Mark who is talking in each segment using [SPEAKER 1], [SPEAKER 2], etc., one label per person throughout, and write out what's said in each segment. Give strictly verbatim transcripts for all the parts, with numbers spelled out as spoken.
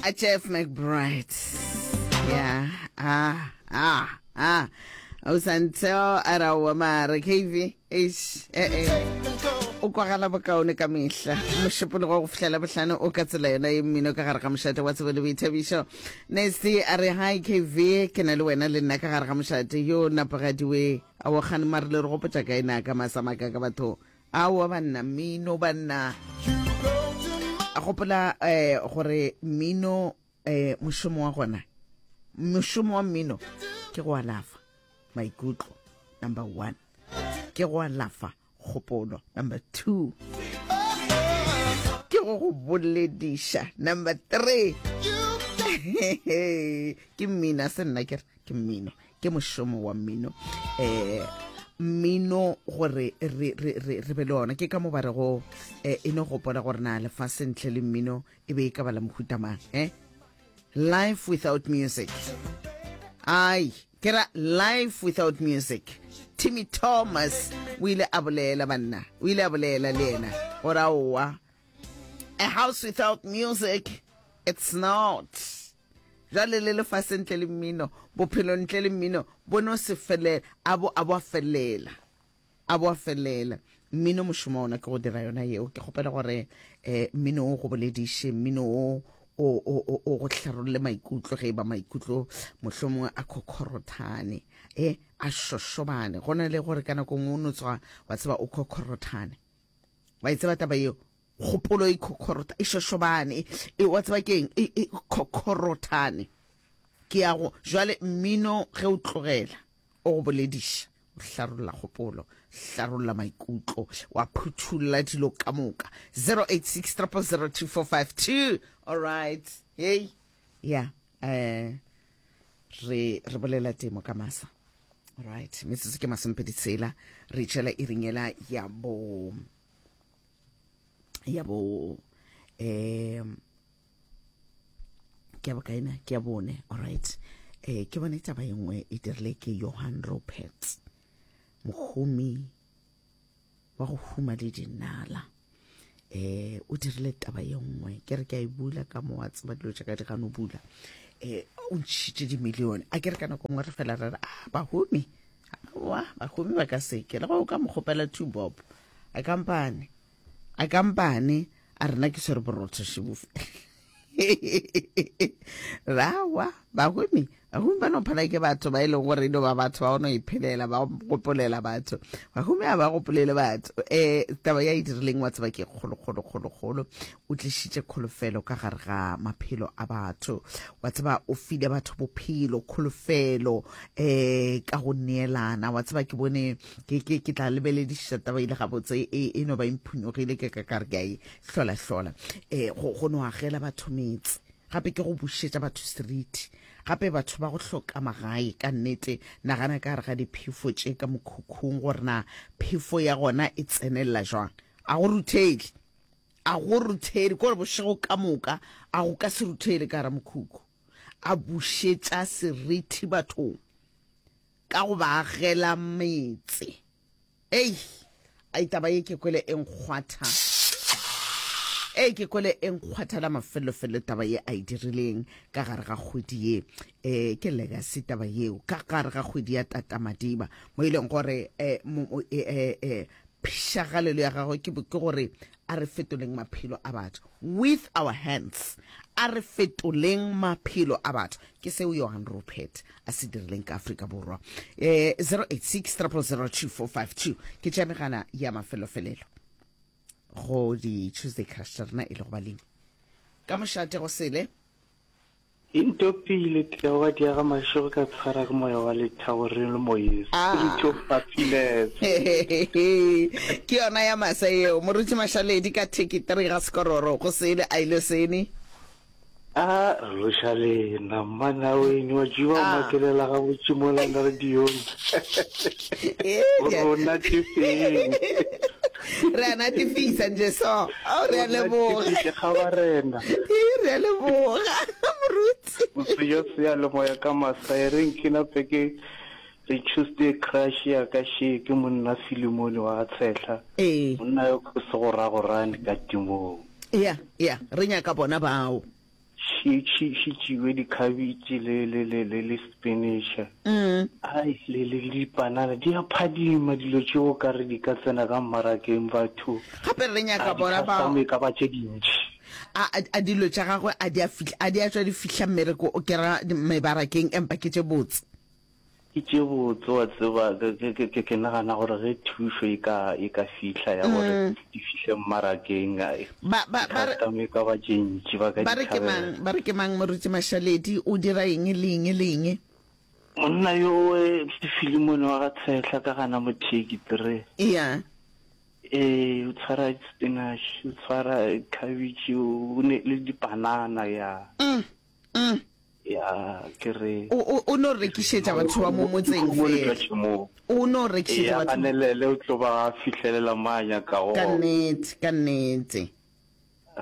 [SPEAKER 1] A Jeff McBride. Yeah. Ah, ah, ah. O santeo a ra wa mare K V. Eish, eh eh. O kwagala bokaone ka mehla. Mošupologo go fihlela bohlano o ka tsela yona ye mmino ka gare ga mošate wa tsebo le boithabišo. Nasty a re hi K V, ke na le wena le nna ka gare ga mošate yo napagadiwe. A wa kgane mare le re gopotša kae na ka masamaka ka batho. Aowa banna, mmino banna. A gopola eh gore mmino eh mošomo wa gona. Mošomo wa mmino ke go alafa maikutlo number one. Ke go alafa kgopolo number two. Ke go go bolediša number three. Ke mmino a se nna ke re ke mmino. Ke mošomo wa mmino. Eh mmino gore re re re re be le ona ke ka mo ba rego eh, e no gopola gore na lefase ntle le mmino e be e ka ba la mohuta mang, eh life without music, ai ke ra life without music. Timmy Thomas o ile a bolela banna, o ile a bolela le yena gore aowa, a house without music, it's not. Jwale le lefase ntle le mmino, bophelo ntle le mmino bo no se felela, a bo a bo a felela, a bo a felela. Mmino mošomo ona ke go dira yona yeo. Ke kgopela gore eh mmino o go bolediše, mmino o o o o go hlarolle maikutlo ge e ba maikutlo mohlomongwe a khokhorothane, eh a šošobane. Go na le gore ka nako nngwe o no tswa wa tseba o khokhorothane, wa e tseba taba yeo, kgopolo e khokhorotha e šošobane, e wa tseba keng, e e khokhorothane. Ke ya go jwale mmino ge o tlogela o go bolediša, o hlarolla kgopolo, hlarolla maikutlo, wa phuthulla dilo ka moka. zero eight six triple zero two four five two. All right, hey, yeah, eh re re bolela temo ka masa. All right, metsotso ke masomepedi tshela re tšhela e ringela ya bo ya bo um ke ya bokaena, ke ya bone. All right, eh ke bone taba e nngwe e dirile ke Johan Rupert, mohumi wa go huma le dinala. Eh o dirile taba ye nngwe, ke re ke a e bula ka mo wa tseba dilo tša ka di gano bula. Eh o ntšhitše dimilione, a ke re ka nako nngwe re fela re re a bahumi, aowa bahumi ba ka seke le go ka mo kgopela two bob a kampane a kampane a rena ke swere borotho šibofe rawa. Bahumi, bahumi ba no phala ke batho ba e leng gore e no ba batho ba go no iphelela, ba gopolela batho. Bahumi a ba gopolele batho. Eh taba ya e dirileng wa tseba ke kgolo kgolo kgolo kgolo. O tlišitše kholofelo ka gare ga maphelo a batho, wa tseba o file batho bophelo, kholofelo eh ka go neelana. Wa tseba ke bone ke ke ke tla lebelediša taba ile gabotse, e e no ba imphunyogile ke ka kare ke a e hlola hlola. Eh go go no agela batho metse, gape ke go bušetša batho seriti, gape batho ba go hloka magae ka nnete. Nagana ka gare ga diphefo tše ka mokhukhung gore na phefo ya gona e tsenelela jwang. A go ruthele, a go ruthele kore bošego ka moka a go ka se ruthele ka gara mokhukhu. A bušetša seriti bathong ka go ba agela metse. Ei, ai taba ye ke kwele e nkgwatha, ei ke kwele e nkgwatha la mafelofelo taba ye a e dirileng ka gare ga kgwedi ye. Eh ke legacy taba yeo ka gare ga kgwedi ya Tata Madiba, mo e leng gore eh eh eh phišagalelo ya gagwe ke ke gore a re fetoleng maphelo a batho with our hands, a re fetoleng maphelo a batho. Ke seo Johan Rupert a se dirileng ka Afrika Borwa. Eh zero eight six triple zero two four five two ke tša megala ya mafelofelelo go di Tuesday Crush tša rena e le go balemi ka mošate go sele.
[SPEAKER 2] Intopile Teboga Diaga Mašego ka tshwara ke moya wa lethabo re le moyeng, spirit of happiness.
[SPEAKER 1] Ke yona ya masa yeo Moruti Mašaledi ka theki three ga Sekororo go sele a ile sene.
[SPEAKER 2] A re loša lena mmanaweni wa tšiba o makelela gabotse mola radiong gore o natefeng.
[SPEAKER 1] Re a natefisa nje so. Oh, re a leboga.
[SPEAKER 2] Kgabarena.
[SPEAKER 1] Re a leboga moruti.
[SPEAKER 2] Sejo seyalemoya ka masa e reng ke nape ke re Tuesday crush ya ka she ke monna Filimone wa Tshehla.
[SPEAKER 1] Ee.
[SPEAKER 2] Monna yo ke se go ragorane ka timong.
[SPEAKER 1] Ya, ya, re nyaka bona bao.
[SPEAKER 2] She šitšiwe dikhabitše le le le le le spinach.
[SPEAKER 1] Mm.
[SPEAKER 2] Ai le le le dipanana di a phadima dilo tšeo ka re di ka tsena ka mmarakeng batho.
[SPEAKER 1] Gape re nyaka
[SPEAKER 2] A
[SPEAKER 1] bona ba
[SPEAKER 2] di-customer e ka ba tše dintši.
[SPEAKER 1] A a a dilo tša gagwe a di a fihla a di a tšwa di fihla mmereko o ke ra mebarakeng empa ke tše botse.
[SPEAKER 2] Ke tše botse wa tseba ke ke ke ke ke nagana gore ge thušo e ka e ka fihla ya gore di fihle mmarakeng ai
[SPEAKER 1] Ba ba ba re
[SPEAKER 2] di-customer e ka ba tše ntši ba ka
[SPEAKER 1] ba
[SPEAKER 2] di
[SPEAKER 1] re ke
[SPEAKER 2] thabela.
[SPEAKER 1] mang ba re ke mang Moruti Mašaledi o dira eng le eng le eng?
[SPEAKER 2] Monna yowe ke Philemon wa ga Tshehla ka gana Motheki three.
[SPEAKER 1] Eya.
[SPEAKER 2] Ee, o tshwara spinach, o tshwara cabbage, o ne le dipanana ya.
[SPEAKER 1] Mm, mm.
[SPEAKER 2] Ya, ke re.
[SPEAKER 1] O, o, o no rekišetša batho ba mo motseng
[SPEAKER 2] Lehumo le tšwa
[SPEAKER 1] fela.
[SPEAKER 2] tšhemong.
[SPEAKER 1] O no rekišetša
[SPEAKER 2] Eya,
[SPEAKER 1] batho.
[SPEAKER 2] ganelele o tlo ba a fihlelela mo a nyakago
[SPEAKER 1] Ka
[SPEAKER 2] gona.
[SPEAKER 1] nnete, ka nnete.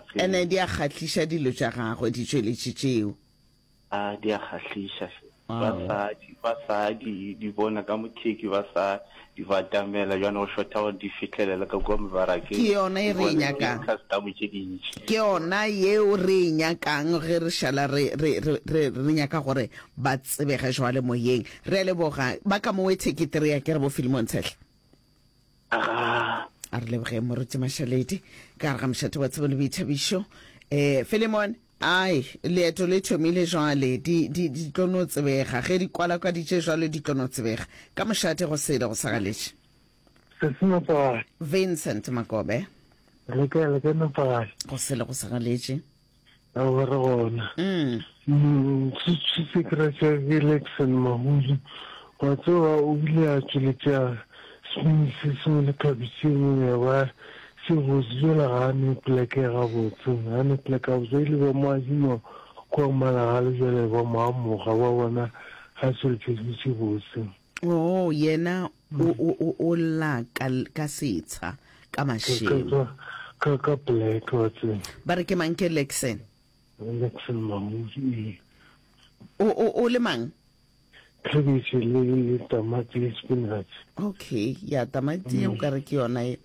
[SPEAKER 2] Ge.
[SPEAKER 1] Ene di a kgahliša dilo tša gagwe, ditšweletši tšeo.
[SPEAKER 2] A di a kgahliša hle. Ba
[SPEAKER 1] Wow.
[SPEAKER 2] sa di, ba sa di, di bona ka motheki, ba sa di batamela, bjane go šotha gore di fihlelele ka kua mebarakeng,
[SPEAKER 1] Ke yona
[SPEAKER 2] di
[SPEAKER 1] e re e
[SPEAKER 2] bone ke
[SPEAKER 1] nyakang.
[SPEAKER 2] di-customer tše dintši.
[SPEAKER 1] Ke yona yeo re e nyakang ge re šala re, re, re, re, re nyaka gore ba tsebege jwale moyeng. Re a leboga. Ba ka mowe theketiri ya ke re bo Philemon Tshehla.
[SPEAKER 2] Agaa.
[SPEAKER 1] A re lebogeng Moruti Mašaledi ka gare ga mošate wa tsebo le boithabišo. Eh, Philemon, ai, leeto le thomile jwale, di, di, di tlo no tsebega. Ge di kwalakwaditše jwalo di tlo no tsebega. Ka mošate go sele go sa galetše.
[SPEAKER 3] Sesi Mapagale.
[SPEAKER 1] Vincent Makobe.
[SPEAKER 3] Le kae, le kae Mapagale?
[SPEAKER 1] Go sele go sa galetše.
[SPEAKER 3] Aowa re gona.
[SPEAKER 1] Mm.
[SPEAKER 3] Mm, se se se kry sa ke Lexon Mahulu. Wa tseba o ile a tšweletša spinach se sengwe le khabetšhe e nngwe ya ba se botse jwale ga a ne pleke gabotse ga a ne pleke gabotse ile ba mo adima kua Malagale jwale ba mo amoga ba bona ga tšweletša dilo tše botse.
[SPEAKER 1] Oh, yena o o o o lla ka ka setsha ka
[SPEAKER 3] Ka ka
[SPEAKER 1] mašemo.
[SPEAKER 3] ka ka ka pleke wa tseba.
[SPEAKER 1] Ba re ke mang ke Lexon?
[SPEAKER 3] Lexon Mahulu ee.
[SPEAKER 1] O o o le mang?
[SPEAKER 3] Khabetšhe le le tamati le spinach.
[SPEAKER 1] Okay, ya tamati o ka re ke yona e.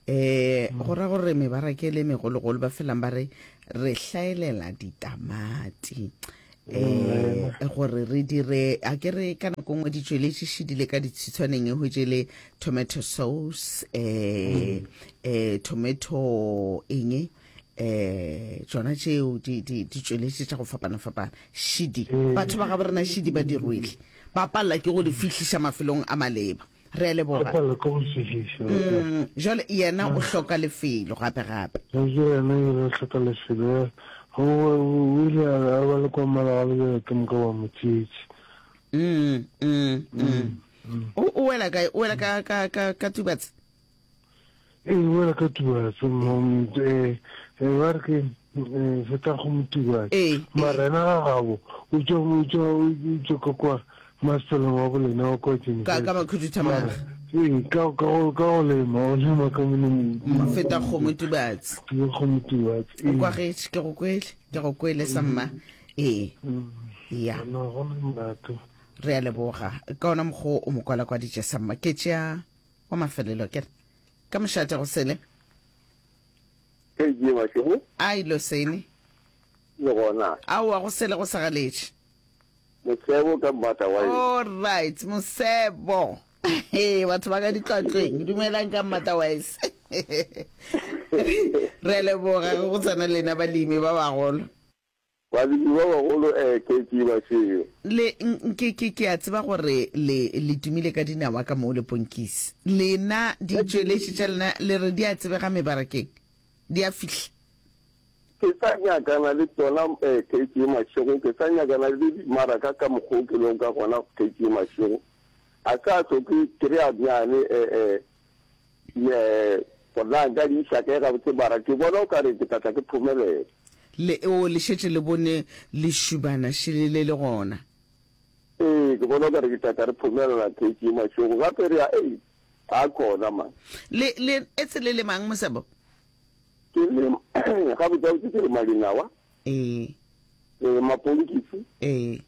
[SPEAKER 1] Eh, go ra gore mebaraka e le megologolo ba felang ba re re hlaelela ditamati. Eh, gore re dire a ke re ka nako nngwe di tšweletše šidile ka ditshitshwaneng e hwetše le tomato sauce eh eh tomato eng eh tšona tšeo di di di tšweletše tša go fapana-fapana šidi batho ba gabo rena šidi ba di rwele ba palela ke go di fihliša mafelong a maleba re a
[SPEAKER 3] Ba
[SPEAKER 1] leboga
[SPEAKER 3] palela ke go fihliša
[SPEAKER 1] mm, jwale yena o hloka lefelo gape gape
[SPEAKER 3] yena o hloka lefelo o o ile a ba le kwa Malagale bjale ke moka ba mo tšeetše
[SPEAKER 1] mm, mm, mm. o o wela kae o wela ka ka ka ka Tubatse
[SPEAKER 3] ee o wela ka Tubatse mo eh ba re ke feta go Motubatse
[SPEAKER 1] ee
[SPEAKER 3] mara yena ga gabo o tšwa o tšwa o tšwa ka kwa masepaleng wa bolena wa kwa
[SPEAKER 1] ka ka makhuduthamaga
[SPEAKER 3] ee ka ka go ka go lema o lema ka mo
[SPEAKER 1] feta kgomo Tubatse
[SPEAKER 3] ke kgomo Tubatse
[SPEAKER 1] o kwagetše ke go kwele ke go kwele sa mma ee ya
[SPEAKER 3] no go na molato
[SPEAKER 1] re a leboga ka ona mokgwa o mo kwalakwaditše sa mma ke tšea wa mafelelo ke re ka mošate go sele
[SPEAKER 4] Ke Mašego
[SPEAKER 1] a ilo sene
[SPEAKER 4] le gona
[SPEAKER 1] aowa go sele go sa galetše
[SPEAKER 4] Mosebo ka mmata wa eng
[SPEAKER 1] all right mosebo ee batho ba ka ditlwatlweng dumelang ka mmata wise re a leboga ge go tsena lena balemi ba bagolo
[SPEAKER 4] balemi ba bagolo um K G Mašego
[SPEAKER 1] le ke ke ke a tseba gore le le tumile ka dinawa ka moo le ponkisi lena ditšweletši tša lena le re di a tsebega mebarakeng di a fihla
[SPEAKER 4] ke sa nyakana le tsona um K G Mašego ke sa nyakana le dimaraka ka mokgwa o ke lego ka gona K G Mašego a sa hloke kry-a bjane um um gore na nka di iša kae gabotse mara ke bona o kare ke tla tla ke phomelela
[SPEAKER 1] le o le šetše le bone lešubana šele le le gona
[SPEAKER 4] ee ke bona o kare ke tla tla re phomelela K G Mašego gape re ya ei a khona man
[SPEAKER 1] le le etse le le mang mosebo
[SPEAKER 4] ke le gabotse ke le madinawa
[SPEAKER 1] ee
[SPEAKER 4] le maponkisi
[SPEAKER 1] ee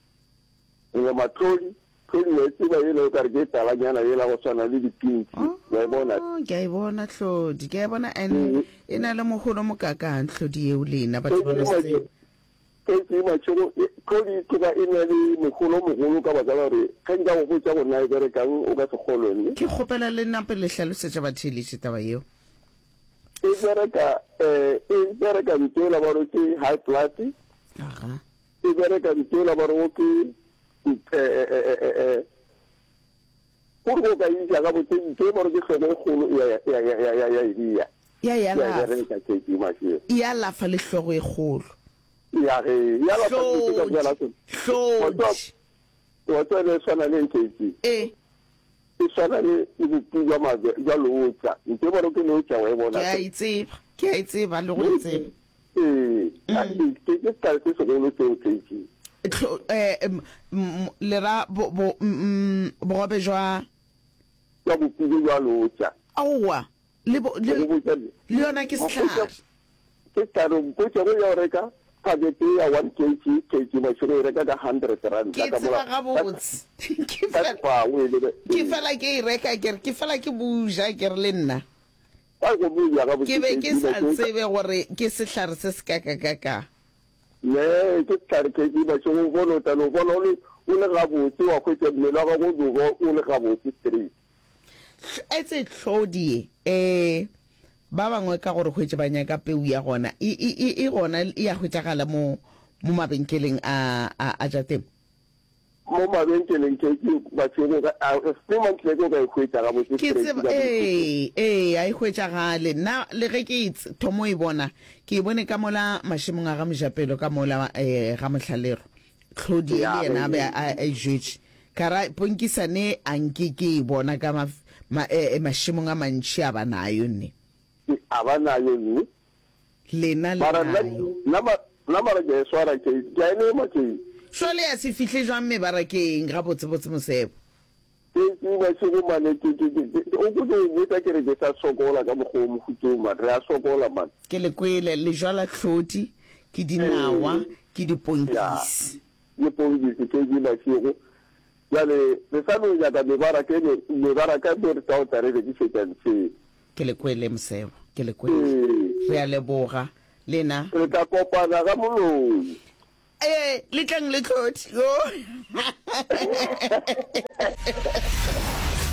[SPEAKER 4] le matlodi tlodi wa e tseba yela o kare ke talanyana yela go swana le dipinki wa e bona
[SPEAKER 1] Oh, ke a e bona tlodi ke a e bona and e na le mogolo mokakang tlodi eo lena batho ba no se tsebe.
[SPEAKER 4] Ke Mašego, tlhodi e tloga e na le mogolo o mogolo ka baka la gore ge nka go botša gore na e berekang o ka se kgolwe mme.
[SPEAKER 1] Ke kgopela le nape le hlalosetše batheeletši taba yeo.
[SPEAKER 4] E bereka, eh, e bereka ntho yela ba re ke high blood.
[SPEAKER 1] Aga.
[SPEAKER 4] E bereka ntho yela ba rego ke, eh, eh, eh, eh, eh, gore go ka e ja gabotse ntho e ba re ke hlogo e kgolo e ya, ya, ya, ya, ya, ya e bea.
[SPEAKER 1] Ya e
[SPEAKER 4] Ya e
[SPEAKER 1] alafa.
[SPEAKER 4] bereka K G Mašego.
[SPEAKER 1] E alafa le hlogo e kgolo.
[SPEAKER 4] Ya ge, e alafa dilo tše ka moka la
[SPEAKER 1] Hlodi,
[SPEAKER 4] tsona. Wa tseba,
[SPEAKER 1] hlodi.
[SPEAKER 4] wa tseba le e swana le K G.
[SPEAKER 1] E.
[SPEAKER 4] E swana le, le bopi bja mabe, bja leotša. Ntho e ba re ke leotša wa e bona
[SPEAKER 1] Ke a
[SPEAKER 4] hle.
[SPEAKER 1] e tseba, ke a e tseba le go e tseba.
[SPEAKER 4] Ee, mm. ke ke sehlare se segolo seo K G.
[SPEAKER 1] Tlo, eh, m, m, le ra bo, bo, m, bogobe jwa
[SPEAKER 4] Jwa bopi bjo bja leotša.
[SPEAKER 1] Aowa, le bo, le,
[SPEAKER 4] Go botša le.
[SPEAKER 1] le yona ke sehlare.
[SPEAKER 4] Ke sehlare, mpotše go ya go reka phakete ya one kg, kg mašego e reka ka hundred rand.
[SPEAKER 1] Ke
[SPEAKER 4] Ka
[SPEAKER 1] tseba
[SPEAKER 4] mola-
[SPEAKER 1] gabotse. Ke
[SPEAKER 4] ka
[SPEAKER 1] fela,
[SPEAKER 4] sekgwa, o e lebe-
[SPEAKER 1] ke fela ke e reka ke re, ke fela ke buja ke re le nna.
[SPEAKER 4] Ba go buja gabotse,
[SPEAKER 1] Ke be ke
[SPEAKER 4] K G
[SPEAKER 1] sa
[SPEAKER 4] mašego.
[SPEAKER 1] tsebe gore ke sehlare se se kakakaka.
[SPEAKER 4] Ne, ke sehlare K G mašego, o bone o tla no bona o le, o le gabotse, wa hwetša mmele wa gago o no ba o le gabotse straight.
[SPEAKER 1] Etse tlhodi ye, eh, ba bangwe ka gore hwetše ba nyaka peu ya gona, e, e, e, e gona e ya hwetšagala mo, mo mabenkeleng a, a, a tša temo.
[SPEAKER 4] Mo mabenkeleng ke, ke mašego, ga, a, se mantle ke o ka e hwetša gabotse
[SPEAKER 1] Ke
[SPEAKER 4] straight
[SPEAKER 1] tseba,
[SPEAKER 4] ka
[SPEAKER 1] ee, ee, a e hwetšagale. Nna le ge ke e tse-, thomo e bona, ke e bone ka mola mašemong a ga Mojapelo, ka mola, eh, ga Mohlalero. Tlhodi e
[SPEAKER 4] Ya,
[SPEAKER 1] le yena a be
[SPEAKER 4] ee.
[SPEAKER 1] a, a e jwetše. Ka ra, ponkisane a nke ke e bona ka ma, ma, eh, mašemong a mantši a ba nayo nne.
[SPEAKER 4] Ke, a ba nayo nne.
[SPEAKER 1] Lena le
[SPEAKER 4] Mara nna,
[SPEAKER 1] nayo.
[SPEAKER 4] nna ma-, nna mara ke a e swara, ke, ke a e lema, ke.
[SPEAKER 1] Šwale ya se fihle jwang mebarakeng gabotsebotse Mosebo?
[SPEAKER 4] Ke, ke mašego mane, ke, ke, ke, ke, o ko ke o botša ke re ke sa sokola ka mokgwa o mohuta o, man. Re a sokola, man.
[SPEAKER 1] Ke le kwele, le jwala tlhodi, ke dinawa,
[SPEAKER 4] Ee.
[SPEAKER 1] ke diponkisi.
[SPEAKER 4] Ya, diponkisi, ke, ke mašego. Bjale, re sa no nyaka mebaraka e me-, mebaraka mo re tla o tla re rekišetša ntshe.
[SPEAKER 1] Ke le kwele, Mosebo, ke le kwele.
[SPEAKER 4] Ee.
[SPEAKER 1] Re a leboga, lena.
[SPEAKER 4] Re tla kopana ga moloi.
[SPEAKER 1] Ee, le tleng le tlhodi. Yo.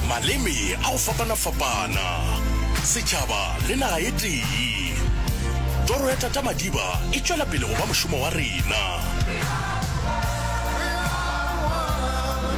[SPEAKER 5] Maleme a go fapana-fapana, setšhaba le naga e tee. Toro ya Tata Madiba e tšwela pele go ba mošomo wa rena.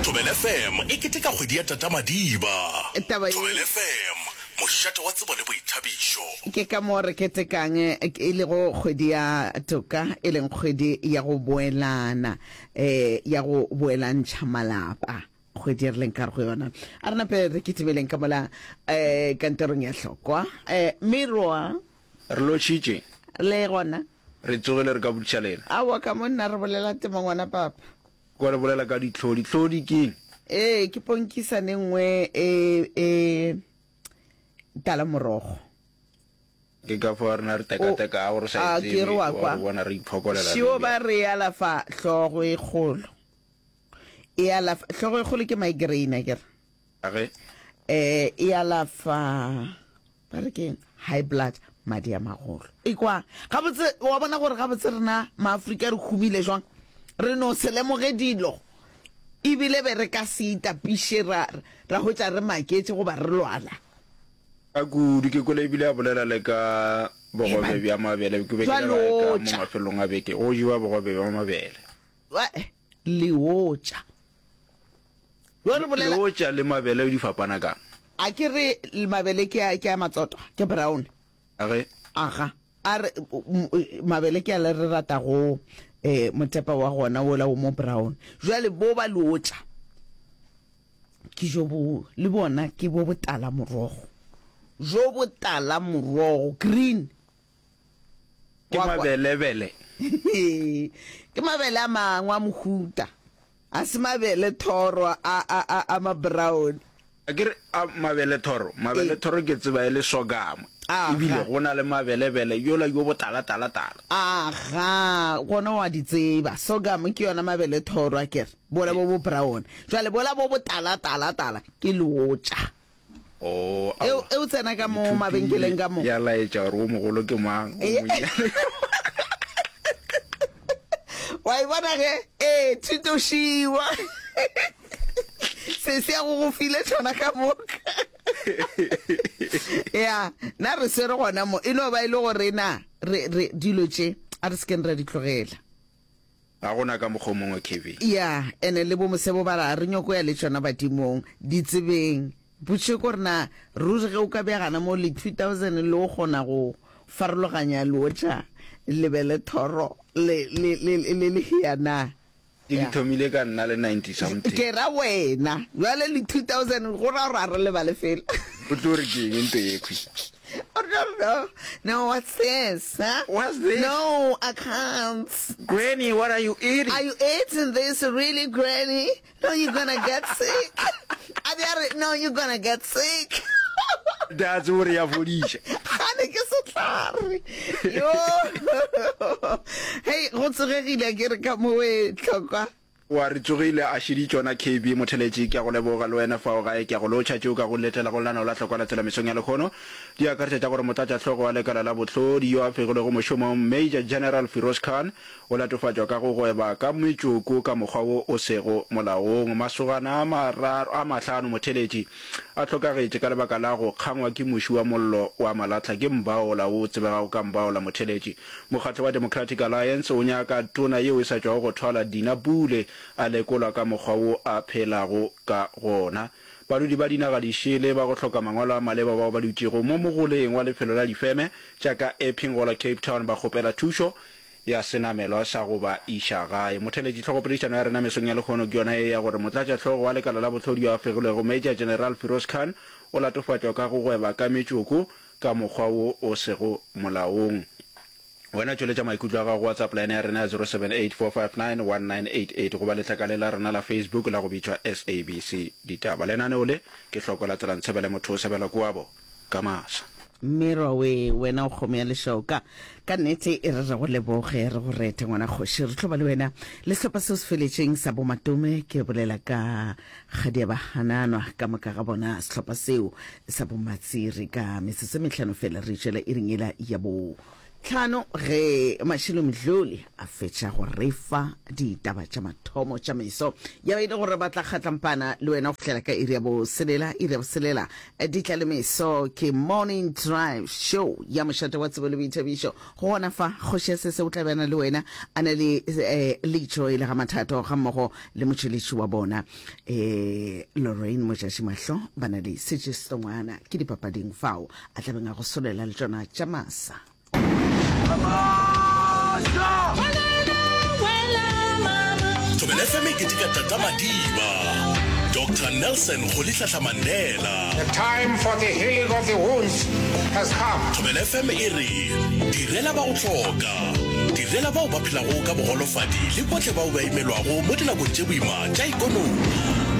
[SPEAKER 5] Thobela F M e keteka kgwedi ya Tata Madiba.
[SPEAKER 1] Taba ye
[SPEAKER 5] Thobela F M, mošate wa tsebo le boithabišo.
[SPEAKER 1] Ke ka mo re ketekang e lego kgwedi ya toka, e leng kgwedi ya go boelana, eh, ya go boelantšha malapa. Kgwedi e re leng ka go yona. A re nape re kitimeleng ka mola, eh, kantorong ya Hlokwa. Eh, Miroa.
[SPEAKER 6] Re lotšhitše.
[SPEAKER 1] Le gona.
[SPEAKER 6] Re tsogile re ka botšiša lena.
[SPEAKER 1] Aowa, ka mo nna re bolela temo ngwana papa.
[SPEAKER 6] Kwa re bolela ka ditlhodi. Tlhodi ke eng?
[SPEAKER 1] Ee, ke ponkisane nngwe e, e tala morogo.
[SPEAKER 6] Ke ka fao rena re tekateka gore sa
[SPEAKER 1] A,
[SPEAKER 6] e
[SPEAKER 1] ke
[SPEAKER 6] tsebe,
[SPEAKER 1] re wa
[SPEAKER 6] wa
[SPEAKER 1] kwa.
[SPEAKER 6] re bona re iphokolela
[SPEAKER 1] Šio
[SPEAKER 6] re
[SPEAKER 1] ba re alafa hlogo e kgolo. E alafa hlogo e kgolo ke migraine, akere?
[SPEAKER 6] Age.
[SPEAKER 1] Eh, e alafa ba re keng? High blood, madi a magolo. Ekwa, gabotse wa bona gore gabotse rena maAfrika re humile jwang? Re no se lemoge dilo. Ebile be re ka se itapiše ra, ra hwetša re maketše goba re lwala.
[SPEAKER 6] Ka kudu ke kwele ebile a bolela le ka bogobe bja mabele, ke be ke le gae ka mo
[SPEAKER 1] Jwalotša.
[SPEAKER 6] mafelong a beke, go jewa bogobe bja mabele.
[SPEAKER 1] Wa, leotša. Yo re bolela
[SPEAKER 6] Leotša le mabele di fapana kang?
[SPEAKER 1] A ke re mabele ke a, ke a matsotwa, ke brown.
[SPEAKER 6] Age.
[SPEAKER 1] Aga. A re, m-, m-, mabele ke a le re ratago, eh, motepa wa gona wola o mo brown. Jwale bo ba leotša ke jo bo, le bona ke bo botala morogo. Jo botala morogo, green.
[SPEAKER 6] Ke
[SPEAKER 1] Wa kwa.
[SPEAKER 6] mabelebele.
[SPEAKER 1] Ke mabele a mangwe a mohuta. A se mabele thoro a, a, a, a ma brown.
[SPEAKER 6] A ke re, a mabele thoro, mabele
[SPEAKER 1] Ee.
[SPEAKER 6] thoro ke tseba e le sorghum.
[SPEAKER 1] Aga.
[SPEAKER 6] Ebile go na le mabelebele yola yo botala tala tala.
[SPEAKER 1] Aga, gona wa di tseba. Sorghum ke yona mabele thoro a kere. Bola bo bo brown. Jwale bola bo botala tala tala ke leotša.
[SPEAKER 6] Oh,
[SPEAKER 1] E
[SPEAKER 6] aowa.
[SPEAKER 1] e o tsena ka mo
[SPEAKER 6] Ithutile,
[SPEAKER 1] mabenkeleng ka mo.
[SPEAKER 6] Ya laetša gore o mogolo ke mang, o
[SPEAKER 1] Ee.
[SPEAKER 6] monnyane.
[SPEAKER 1] Wa e bona ge? Ee, thutošiwa. Se se ya go go file tšona ka moka. Ya, na re swere gona mo. E no ba e le gore na re re dilo tše a re se keng ra di tlogela.
[SPEAKER 6] Ga gona ka mokgwa o mongwe, Kevin.
[SPEAKER 1] Ya, ene le bo Mosebo ba re a re nyoko ya le tšona badimong. Di tsebeng. Potšišo ke gore na ruri ge o ka bea gana mo le two thousand le o kgona go farologanya leotša lebele thoro le le le le lehea na?
[SPEAKER 6] Di di thomile ka nna le ninety something.
[SPEAKER 1] Ke ra wena bjale le two thousand go ra gore a re lebale fela.
[SPEAKER 6] O tlo re ke eng nto yekhwi?
[SPEAKER 1] O tlo re no, no what's this huh?
[SPEAKER 6] What's this?
[SPEAKER 1] No, I can't.
[SPEAKER 6] Granny, what are you eating?
[SPEAKER 1] Are you eating this really granny? No, you're gonna get sick. A be a re, no, you're gonna get sick.
[SPEAKER 6] That's gore ya fodiša.
[SPEAKER 1] Gane ke sehlare. Yo. Hei, go tsogegile ke re ka mo we tlhokwa.
[SPEAKER 6] Wa re tsogile a šedi tšona K B Motheletši ke a go leboga le wena fao gae ke a go lotšha tšeo ka go letela go lenaneo la hlokwa la tsela mesong ya lekhono di akaretša tša gore motlatšahlogo wa lekala la bohlodi yo a fegilwego mošomong Major General Firoz Khan O latofatšwa ka go gweba ka metšoko ka mokgwa wo o sego molaong. Masogana a mararo, a mahlano motheletši a hlokagetše ka lebaka la go kgangwa ke muši wa mollo wa malahla ke Mbaola wo o tsebegago ka Mbaola motheletši. Mokgatlo wa Democratic Alliance o nyaka tona yeo e sa tšwago go thwala Dina Pule a lekolwa ka mokgwa wo a phelago ka gona. Badudi ba dinaga dišele ba go hloka mangwalo a maleba bao ba dutšego mo mogoleng wa lefelo la difeme tša ka Epping gola Cape Town ba kgopela thušo ya senamelwa sa go ba iša gae. Motheeletši, Hlogopoledišano ya rena mesong ya lehono ke yona ye ya gore Motlatšahlogo wa Lekala la Bohlodi yo a fegilwego Major General Firoz Khan o latofatšwa ka go gweba ka metšoko ka mokgwa wo o sego molaong. Wena tšweletša maikutlo a gago go WhatsApp line ya rena ya zero seven eight four five nine one nine eight eight goba letlakale la rena la Facebook la go bitšwa S A B C Ditaba. Lenaneo le ke Hloko la Tsela Ntshebele Motho o sebelwa ke wabo ka masa.
[SPEAKER 1] Mmirwa we, wena o kgomo ya lešoka. Ka nnete e re re go leboge, re go rete ngwana kgoši. Re tlo ba le wena le sehlopha seo se feletšeng sa bomatome, ke bolela ka Kgadia ba Hananwa ka moka ga bona, sehlopha seo sa bomatsiri. Ka metsotso e mehlano fela re itšwela iring yela ya bo tlhano ge Mashilo Mdluli a fetša go re fa ditaba tša mathomo tša meso. Ya ba e le gore ba tla kgatlampana le wena go fihlela ka iri ya boselela. Iri ya boselela di tla le meso ke Morning Drive Show ya mošate wa tsebo le boithabišo. Go gona fa, Kgoši ya Sese o tla be a na le wena a na le eh, Leitšo e le ga Mathato gammogo le motšweletši wa bona eh, Lorraine Mojatši Mahlo ba na le Sejestongwana ke dipapading fao a tla beng a go solela le tšona tša masa.
[SPEAKER 5] Thobela F M e keteka Tata Madiba, Doctor Nelson Rolihlahla Mandela.
[SPEAKER 7] The time for the healing of the wounds has come.
[SPEAKER 5] Thobela F M e re, Direla ba go hloka, direla bao ba phelago ka bogolofadi le bohle bao ba imelwago mo dinakong tše boima tša ikonomi.